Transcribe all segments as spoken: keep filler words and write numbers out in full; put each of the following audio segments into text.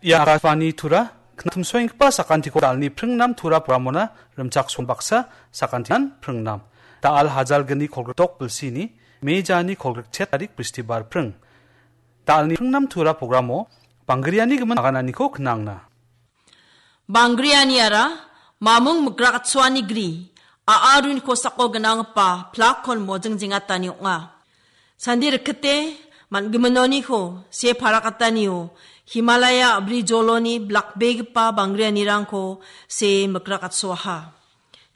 Ia Akashvani Tura, knatmsoenggipa sakantiko dalni pringnam Tura programona rimchakson baksa sakantian pringnam. Dal hajalgni kolgrikdok bilsini, mejani kolgrikchet tarik Bristibar pring. Dalni pringnam Tura programo, Banggriani gimin agananiko knangna. Banggrianiara, mamung migrakatsoani gri, a·a runi kosako gnanggipa plakkon mojing jengatani ong·a. Sandi rikite, man·giminoniko, se parakatanio, Himalaya a·bri joloni blakbegipa Banggrianirangko se migrakatsoaha.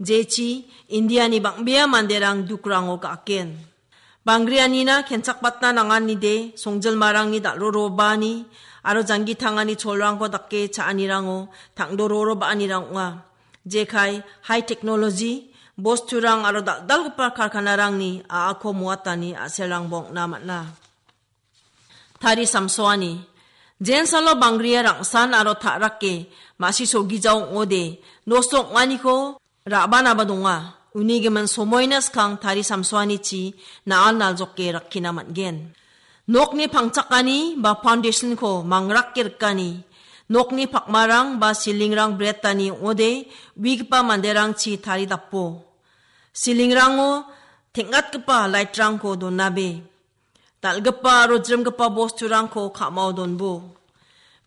Jechi, Indiani bang·bea manderang dukrango ga·aken. Banggrianina kenchakbatna nanganide, songjilmarangni dal·rorobani aro janggi tangani cholrangko dake cha·anirango tangdororo ba·anirang ong·a. Jekai, high technology, bosturang aro dal·dalgipa karkanarangni a·ako moatani a·selrangba ong·na man·a. Tari samsoani. Jensalo Banggria rangsan aro ta·rake, ma·si sogijao ong·ode, nosto ong·aniko ra·banaba donga. Uni gimin somoina skang tari samsoanichi na·an naljoke rakkina man·gen. Nokni pangchakani ba foundationko mangrake rikani. Nokni pakmarang ba silingrang bretani ong·ode, uigipa manderangchi taridapo. Silingrango teng·atgipa lightrangko donabe. Dal·gipa aro jrimgipa bosturangko ka·mao donbo.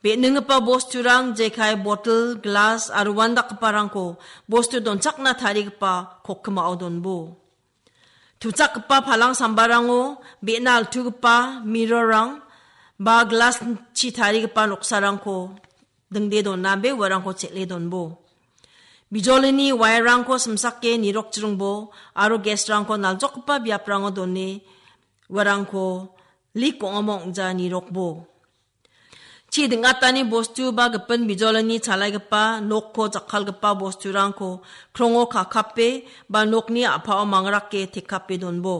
Be·ninggipa bosturang jekai botel, glas aro uandakgiparangko bostu donchakna tarigipa kokkimao donbo. Tuchakgipa palang sambarango be·na altugipa mirrorrang ba glaschi tarigipa noksarangko dingde donabe uarangko chel·e donbo. Bijolini wire-rangko simsake nirokjringbo aro gas-rangko naljokgipa biaprango done uarangko lik ong·amo ong·ja nirokbo. Chi ding·atani bostu ba gipin bijolini chalaigipa nokko jakkalgipa bosturangko krongo kakape ba nokni a·pao mangrake tekape donbo.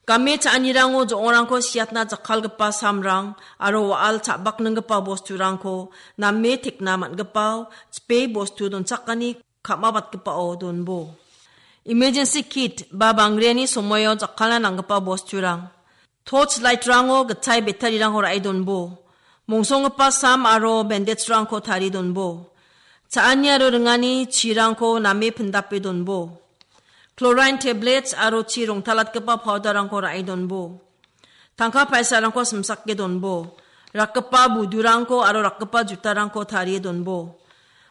Game cha·anirango jo·ongrangko siatna jakkalgipa samrang aro wa·al cha·bakninggipa bosturangko name tekna man·gipao chipe bostu donchakani ka·mabatgipao donbo. Emergency kit ba Banggriani somoio jakkalna nanggipa bosturang. Torch light-rango gitchai battery-rangko ra·e donbo. Mongsonggipa sam aro bandage-rangko tarie donbo. Cha·ani aro ringani chirangko name pindape donbo. Chlorine tablets aro chi rongtalatgipa powder-rangko ra·e donbo. Tangka paisarangko simsake donbo. Rakgipa budurangko aro rakgipa jutarangko tarie donbo.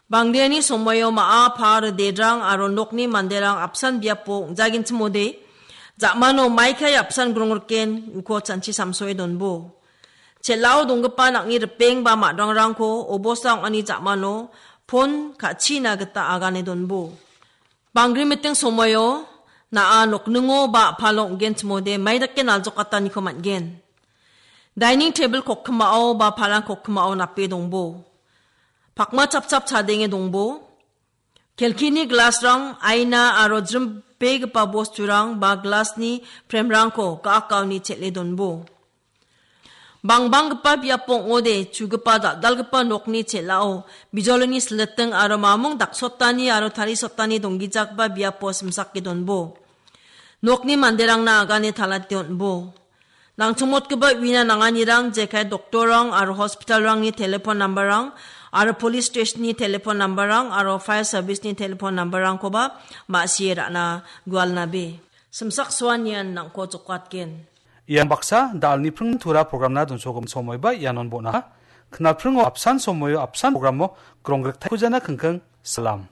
Banggriani somoio ma·a, pa, ridedrang aro nokni manderang apsan biapo ong·jagenchimode, ja·mano maikai apsan grongriken uko chanchi samsoe donbo. Chel·ao donggipa nang·ni ripeng ba ma·drangrangko obosta ong·ani ja·mano pon ka·china gita agane donbo. Banggri miting somoio na·a nokningo ba a·palo ong·genchimode maidake naljokataniko man·gen. Dining tebil kokkimao ba palang kokkimao nape dongbo. Pakma chapchap chadenge dongbo. Kelkini glasrang, aina aro jrimbegipa bosturang ba glasni premrangko ga·akaoni chel·e donbo. Bangbanggipa biapo ong·ode chugipa dal·dalgipa nokni chel·ao bijolini siliting aro mamung daksotani aro tarisottani donggijagipa biapo simsake donbo. Nokni manderangna agane talate on·bo. Nangchongmotgipa uina nanganirang jekai doktorrang aro hospitalrangni telefon nambarrang aro polis steshenni telefon nambarrang aro faia sabisni telefon nambarrangkoba ma·sie ra·na gualnabe. Simsak soanian nang·ko jokatgen. Ian baksa dalni pring tura programna donsogimin somoiba ianon bon·aha. Knalpringo apsan somoio apsan programo gronggrik taikujana kingking. Salam.